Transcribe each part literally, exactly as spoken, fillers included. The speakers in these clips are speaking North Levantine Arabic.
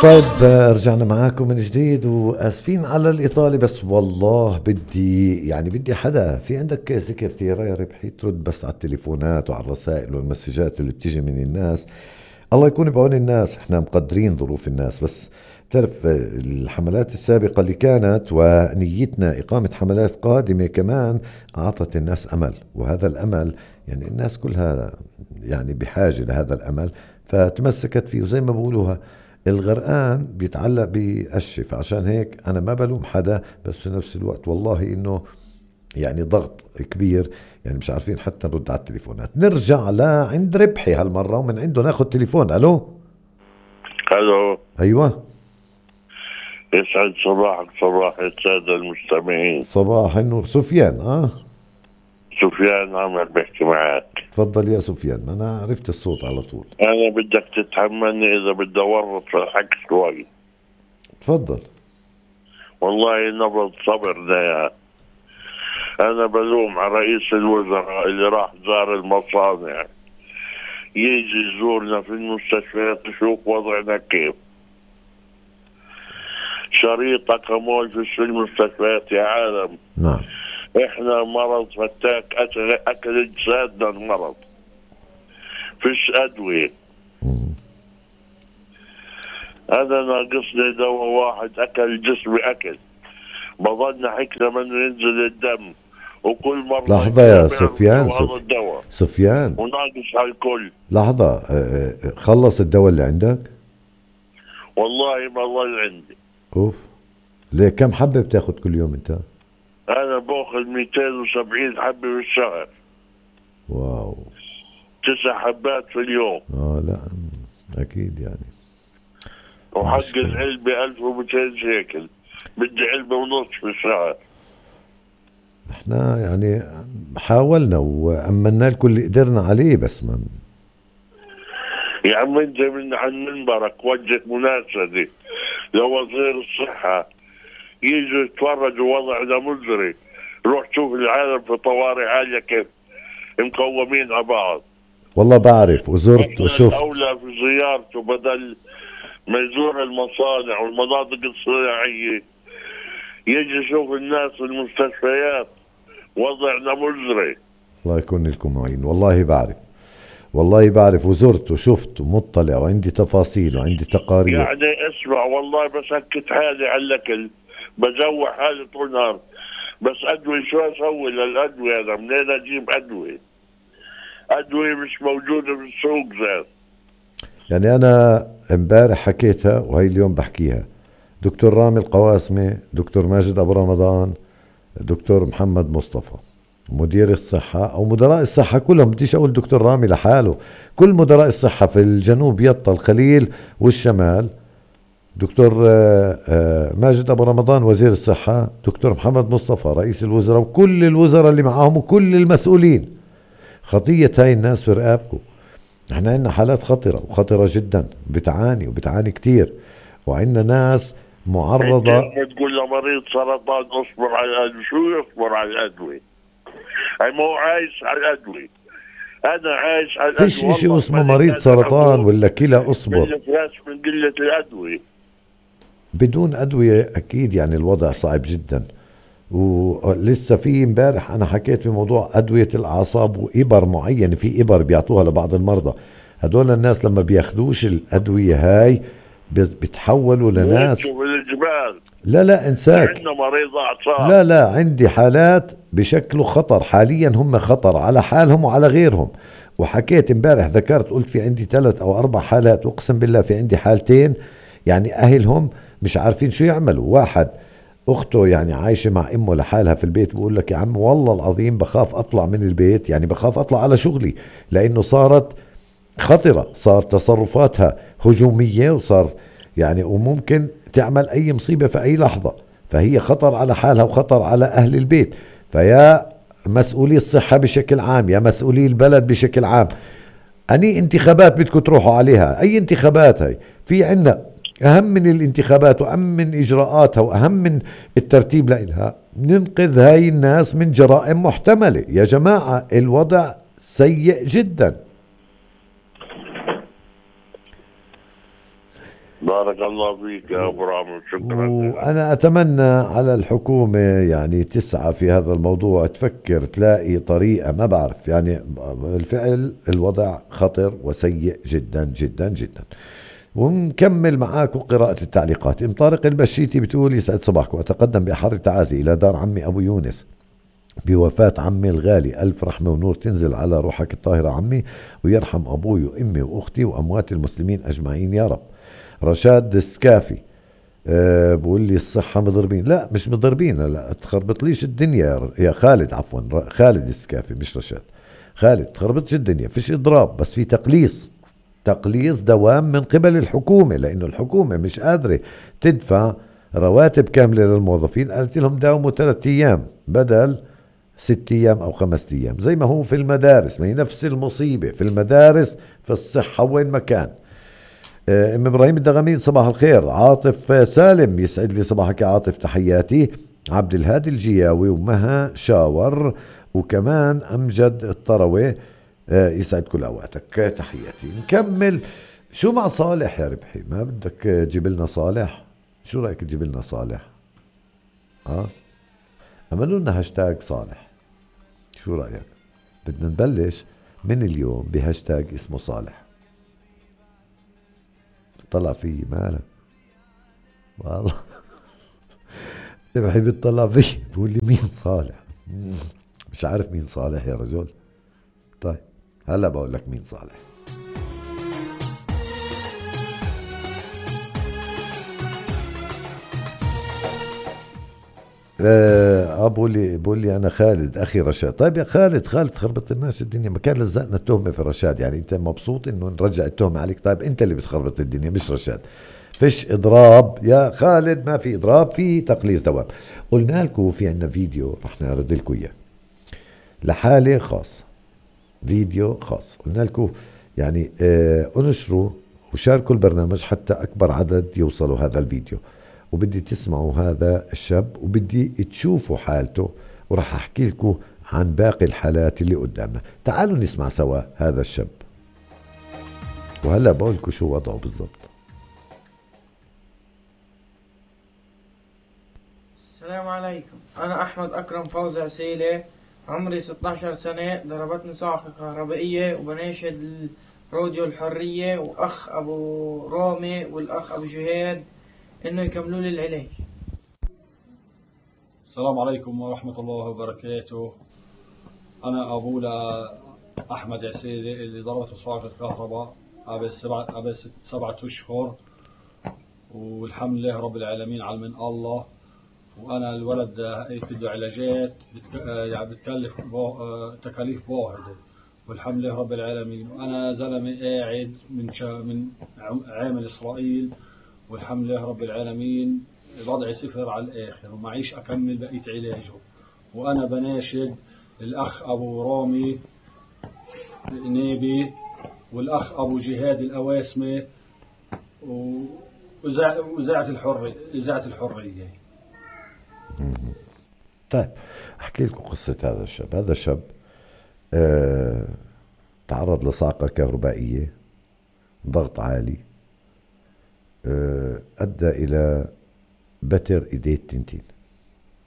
طيب رجعنا معاكم من جديد واسفين على الاطاله، بس والله بدي يعني بدي حدا في عندك سكرتيره يا ربحي ترد بس على التليفونات وعلى الرسائل والمسجات اللي بتيجي من الناس. الله يكون بعون الناس، احنا مقدرين ظروف الناس، بس بتعرف الحملات السابقة اللي كانت ونيتنا إقامة حملات قادمة كمان أعطت الناس أمل، وهذا الأمل يعني الناس كلها يعني بحاجة لهذا الأمل فتمسكت فيه. وزي ما بقولوها الغرقان بيتعلق بقشة، فعشان هيك أنا ما بلوم حدا، بس في نفس الوقت والله إنه يعني ضغط كبير، يعني مش عارفين حتى نرد على التليفونات. نرجع لعند ربحي هالمرة ومن عنده ناخد تليفون. ألو الو. أيوة، يسعد صباحك صباح السادة المستمعين. صباح النور. سفيان. اه سفيان عمر بحكي معك. تفضل يا سفيان، أنا عرفت الصوت على طول. أنا بدك تتحملني إذا بدي أورط في الحكي شوي. تفضل. والله نبض صبر ده. أنا بلوم على رئيس الوزراء اللي راح زار المصانع، يجي يزورنا في المستشفيات يشوف وضعنا كيف. شريط أكمول في المستشفيات يا عالم. نعم. إحنا مرض فتاك، أكل, أكل أجسادنا المرض، فيش أدوية. هذا ناقصني دواء واحد أكل جسمي أكل، بضلنا حكنا من ينزل الدم، وكل مرة لحظة يا سفيان. سف... سفيان وناقص هالكل. لحظة، خلص الدواء اللي عندك؟ والله ما ظل عندي. اوف، ليه كم حبة بتاخد كل يوم انت؟ انا باخذ مئتين وسبعين حبة بالشهر. واو. تسع حبات في اليوم. اه لا اكيد يعني. وحق العلبة ألف ومئتين شيكل، بدي علبة ونص في الشهر. احنا يعني حاولنا وأمنا لكم اللي قدرنا عليه، بس ما يا عم انت من عن منبرك وجه مناشدة لوزير الصحة يجوا يتفرجوا وضعنا مزري. روح شوف العالم في طوارئ عالية كيف مقومين على بعض. والله بعرف وزرت وشفت. الأولى في زيارته بدل ما يزور المصانع والمناطق الصناعية يجي يشوف الناس في المستشفيات. وضعنا مزري. الله يكون لكم معين. والله بعرف، والله بعرف وزرت وشفت ومطلع وعندي تفاصيل وعندي تقارير. يعني اسمع والله بسكت حالي على الأكل، بجوع حالي طول النهار، بس أدوية شو أسوي للأدوية؟ أنا منين أجيب أدوية؟ أدوية مش موجودة في السوق ذات. يعني أنا امبارح حكيتها وهي اليوم بحكيها. دكتور رامي القواسمي، دكتور ماجد أبو رمضان، دكتور محمد مصطفى مدير الصحة أو مدراء الصحة كلهم، بديش أقول دكتور رامي لحاله، كل مدراء الصحة في الجنوب يطا الخليل والشمال، دكتور ماجد أبو رمضان وزير الصحة، دكتور محمد مصطفى رئيس الوزراء، وكل الوزراء اللي معاهم وكل المسؤولين. خطية هاي الناس في رقابكم. احنا عندنا حالات خطرة وخطرة جدا، بتعاني وبتعاني كتير، وعندنا ناس معرضة. تقول لمريض سرطان اصبر على الأدوية، شو يصبر على الأدوية؟ هاي مو عايش على الأدوية، أنا عايش على الأدوية. فيش اشي اسمه مريض سرطان ولا كلى اصبر من قلة الأدوية. بدون أدوية أكيد يعني الوضع صعب جدا. ولسه في امبارح أنا حكيت في موضوع أدوية الأعصاب وإبر معينة، في إبر بيعطوها لبعض المرضى. هدول الناس لما بياخدوش الأدوية هاي بتحولوا لناس. لا لا انساك. لا لا عندي حالات بشكل خطر حاليا، هم خطر على حالهم وعلى غيرهم. وحكيت امبارح ذكرت قلت في عندي ثلاث او اربع حالات، واقسم بالله في عندي حالتين يعني اهلهم مش عارفين شو يعملوا. واحد اخته يعني عايشة مع امه لحالها في البيت، بقول لك يا عم والله العظيم بخاف اطلع من البيت، يعني بخاف اطلع على شغلي لانه صارت خطرة، صار تصرفاتها هجومية، وصار يعني وممكن تعمل أي مصيبة في أي لحظة. فهي خطر على حالها وخطر على أهل البيت. فيا مسؤولي الصحة بشكل عام، يا مسؤولي البلد بشكل عام، أني انتخابات بدكم تروحوا عليها. أي انتخابات هاي؟ في عنا أهم من الانتخابات وأهم من إجراءاتها وأهم من الترتيب لها، ننقذ هاي الناس من جرائم محتملة. يا جماعة الوضع سيء جدا. بارك الله فيك يا أبو رامي، شكرا. وأنا أتمنى على الحكومة يعني تسعى في هذا الموضوع، تفكر تلاقي طريقة، ما بعرف يعني الفعل الوضع خطر وسيء جدا جدا جدا. ونكمل معاكم قراءة التعليقات. ام طارق البشيتي بتقول يسعد صباحكم، أتقدم بأحر التعازي إلى دار عمي أبو يونس بوفاة عمي الغالي، ألف رحمة ونور تنزل على روحك الطاهرة عمي، ويرحم أبوي وأمي وأختي وأموات المسلمين أجمعين يا رب. رشاد السكافي أه بقول لي الصحة مضربين، لا مش مضربين، لا تخربطليش الدنيا يا خالد، عفوا خالد السكافي مش رشاد، خالد تخربطش الدنيا، فيش إضراب بس في تقليص، تقليص دوام من قبل الحكومة، لأنه الحكومة مش قادرة تدفع رواتب كاملة للموظفين. قالت لهم داوموا ثلاثة أيام بدل ست أيام أو خمسة أيام، زي ما هو في المدارس، ما هي نفس المصيبة في المدارس، في الصحة، وين ما كان. ام ابراهيم الدغمين صباح الخير. عاطف سالم يسعد لي صباحك يا عاطف، تحياتي. عبد الهادي الجياوي ومها شاور وكمان امجد الطروي يسعد كل اوقاتك، تحياتي. نكمل شو مع صالح يا ربحي؟ ما بدك تجيب لنا صالح؟ شو رايك تجيب لنا صالح؟ اه عملوا لنا هاشتاج صالح، شو رايك؟ بدنا نبلش من اليوم بهاشتاج اسمه صالح. طلع فيه مالك والله بحب يطلع فيه بقول لي مين صالح؟ مش عارف مين صالح يا رجل. طيب هلا بقول لك مين صالح. آه بقول لي بقول لي انا خالد اخي رشاد. طيب يا خالد، خالد خربط الناس الدنيا، ما كان لزقنا التهمه في رشاد، يعني انت مبسوط انه نرجع التهمه عليك؟ طيب انت اللي بتخربط الدنيا مش رشاد. فيش اضراب يا خالد، ما في اضراب، في تقليص دوام. قلنا لكم في عندنا فيديو رح نعرض لكم اياه لحاله خاصه، فيديو خاص. قلنا لكم يعني آه انشروا وشاركوا البرنامج حتى اكبر عدد يوصلوا هذا الفيديو، وبدي تسمعوا هذا الشاب وبدي تشوفوا حالته، وراح احكي لكم عن باقي الحالات اللي قدامنا. تعالوا نسمع سوا هذا الشاب، وهلا بقول لكم شو وضعه بالضبط. السلام عليكم، أنا أحمد أكرم فوزي عسيلة، عمري ستة عشر سنة، ضربتني صاعقة كهربائية، وبناشد راديو الحرية وأخ أبو رامي والأخ أبو جهاد إنه يكملوا لي العلاج. السلام عليكم ورحمة الله وبركاته. أنا أبولا أحمد عسيلة اللي ضربته صاعقة كهرباء قبل سبعة قبل سبعة أشهر، والحمد لله رب العالمين على من الله. وأنا الولد بده علاجات بتك... يعني بتكلف بو... تكاليف باهظة، والحمد لله رب العالمين. وأنا زلمة قاعد من شا... من عامل إسرائيل، والحمد لله رب العالمين وضعي صفر على الآخر ومعيش أكمل بقية علاجه. وأنا بناشد الأخ أبو رامي نيبي والأخ أبو جهاد الأواسمة وإذاعة الحرية إذاعة الحرية. طيب احكي لكم قصة هذا الشاب. هذا الشاب اه تعرض لصاعقة كهربائية، ضغط عالي، اه ادى الى بتر ايديه التنتين،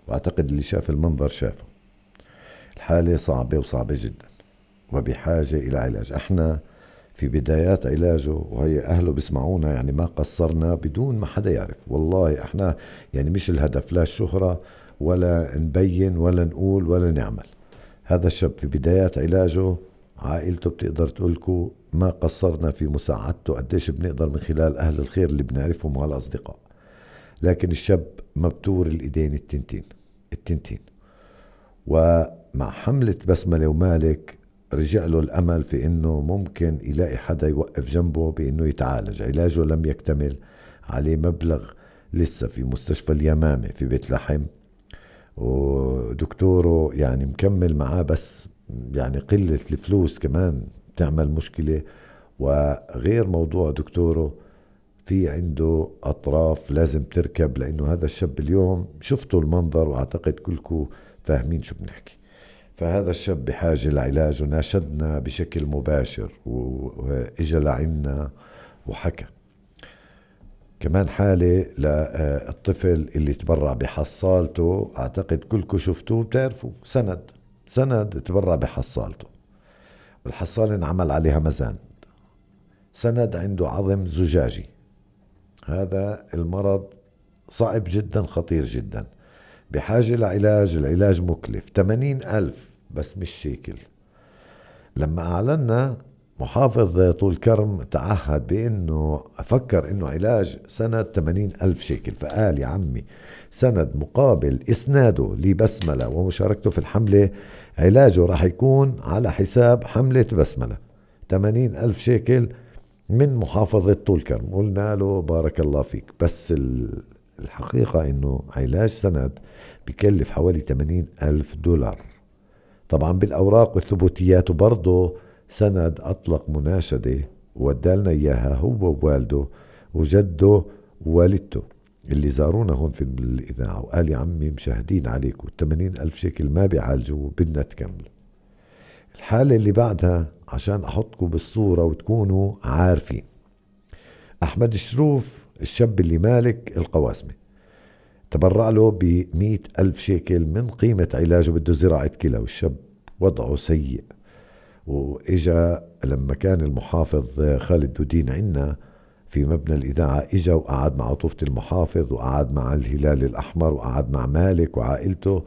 واعتقد اللي شاف المنظر شافه. الحالة صعبة وصعبة جدا وبحاجة الى علاج. احنا في بدايات علاجه، وهي اهله بيسمعونا، يعني ما قصرنا بدون ما حدا يعرف. والله احنا يعني مش الهدف لا الشهرة ولا نبين ولا نقول ولا نعمل. هذا الشاب في بدايات علاجه عائلته بتقدر تقولكو ما قصرنا في مساعدته قديش بنقدر من خلال أهل الخير اللي بنعرفهم والأصدقاء. لكن الشاب مبتور الإيدين التنتين التنتين ومع حملة بسملة ومالك رجع له الأمل في إنه ممكن يلاقي حدا يوقف جنبه بإنه يتعالج. علاجه لم يكتمل، عليه مبلغ لسه في مستشفى اليمامة في بيت لحم، ودكتوره يعني مكمل معاه، بس يعني قلة الفلوس كمان تعمل مشكلة. وغير موضوع دكتوره في عنده أطراف لازم تركب، لأنه هذا الشاب اليوم شفتوا المنظر وأعتقد كلكم فاهمين شو بنحكي. فهذا الشاب بحاجة لعلاج، وناشدنا بشكل مباشر وإجا لعنا وحكى. كمان حالة للطفل اللي تبرع بحصالته، أعتقد كلكم شفتوه بتعرفوا، سند سند تبرع بحصالته، والحصالة انعمل عليها مزان، سند عنده عظم زجاجي. هذا المرض صعب جدا، خطير جدا، بحاجة لعلاج، العلاج مكلف ثمانين ألف بس مش شيكل. لما أعلنا محافظ طول كرم تعهد بأنه أفكر أنه علاج سند ثمانين ألف شيكل، فقال يا عمي سند مقابل إسناده لبسملة ومشاركته في الحملة، علاجه راح يكون على حساب حملة بسملة، ثمانين ألف شيكل من محافظة طول كرم. قلنا له بارك الله فيك، بس الحقيقة أنه علاج سند بيكلف حوالي ثمانين ألف دولار. طبعا بالأوراق والثبوتيات، وبرضه سند أطلق مناشدة ودالنا إياها هو ووالده وجده ووالدته اللي زارونا هون في الإذاعة، وقال يا عمي مشاهدين عليكم، ثمانين ألف شيكل ما بيعالجوا، بدنا تكملوا. الحالة اللي بعدها عشان أحطكم بالصورة وتكونوا عارفين، أحمد شروف الشاب اللي مالك القواسمة تبرع له بمئة ألف شيكل من قيمة علاجه، بده زراعة كلى، والشاب وضعه سيء. وإجا لما كان المحافظ خالد دودين عنا في مبنى الإذاعة، إجا وقعد مع عطوفة المحافظ، وقعد مع الهلال الأحمر، وقعد مع مالك وعائلته،